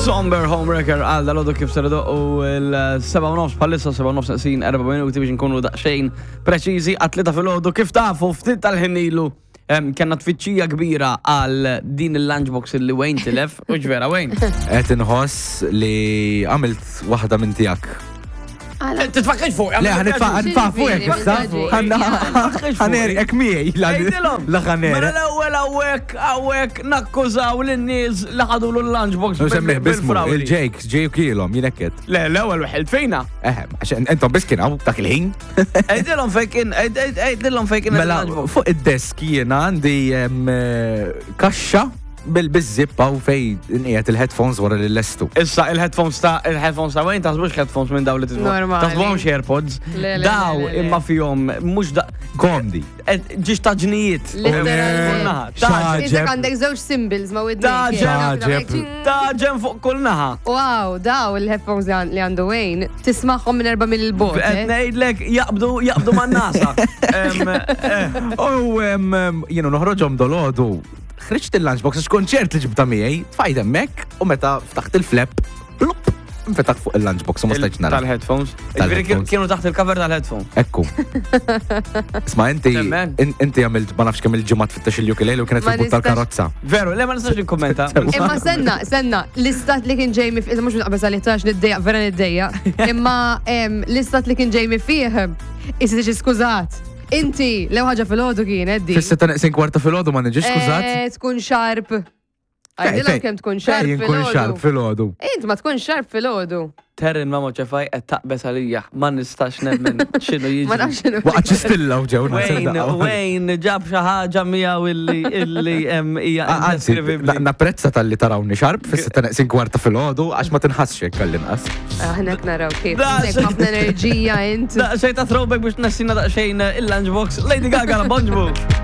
Somber Homewrecker għal dal kif ser u l-7 nofs bħalissa 7 nofs neqsin 4 minuti biex nkunu daqsxejn preċiżi għat-tlieta filgħodu kif tafu ftit tal-ħin ilu kellna tfittxija kbira għal din il-lunchbox illi Wayne tilef u ġvera Wayne. Qed inħoss li għamilt waħda minn tiegħek. Titfakkx fuq. Le, ħanitfa' fuqek issa. Ħanerek miegħi. La ħanerek. Mela l-ewwel hawnhekk hawnhekk nakkużaw lin-nies li ħadulu l-lunchbox. Semmiħ bismu, il-Jake, Jake kielhom, jien hekk Le, l-ewwel wieħed fejna. Eh, għax intom biss kien hawn dak il-ħin. Għidilhom fejn kien, għidilhom fejn kien. Mela, fuq id-desk jiena għandi eh, kaxxa Bil-bizzip hawn fej nqiegħed il-headphones wara li lestu. Issa il-headphones ta' il-headphones ta' Wayne taħsbux headphones minn daw li titfu. Normali. Taħsbuhomx AirPods. Le, le, le, Daw le, le. imma fihom mhux da Komdi. ġiex ta' ġnijiet. Literalment. Naħa, ta' Xaġeb. Isek għandek żewġ symbols ma' widnejk. Xaġeb. Ta' ġen fuq kull naħa. Wow, daw il-headphones li għan- li għandu Wayne, tismaħħom minn erba' mil bot. Qed ngħidlek jaqbdu jaqbdu man-nasa. Em, eh, U jienu noħroġhom dolodu. Ħriġt il-lunchbox għax kont ċert li ġibta miegħi, tfajt hemmhekk u meta ftaħt il-flap, plup, infetaħ fuq il-lunchbox u ma stajtx nara. Tal-headphones. Ġifieri Tal-headphones. kienu taħt il-cover tal-headphone. Ekku. Isma' inti Temmen. inti għamilt ma nafx kemm il-ġimgħa tfittex il-ukulele u kienet Ma fil-but nistax- tal-karozza. Veru, le ma nistax nikkommenta. Imma senna, senna, l-istat li kien ġejmi fih, mux naqbes għalli tax niddejja, vera niddejja. Imma em, l-istat li kien ġejmi fih, isi tiġi skużat. Inti, lew ħaġa fil-ħodu kienet di. Fis-sitta neqsin kwarta filgħodu ma niġix skużat. Eh, Tkun xarp. Għajdilhom kemm tkun xarp Fejn nkun xarp fil-ħodu. filgħodu. Int ma tkun xarp fil-ħodu. Terrin ma moċefaj qed taqbes għalija, ma nistax nemmen x'inhu jiġri. Ma nafx x'inhu. Waqgħet xi stilla u ġew Wayne, Wayne ġab xi ħaġa miegħu illi illi hemm hija Ah, Anzi, indeskrivibbli. na- napprezza tal-li tarawni xarb fis-sitta neqsin kwarta filgħodu għax ma tinħassx hekk għall-inqas. Aħna ah, naraw kif. Da, Għandek ħafna enerġija int. Daqsxejn ta' throwback biex tnessina daqsxejn il-lunchbox Lady Gaga la Bonġbu.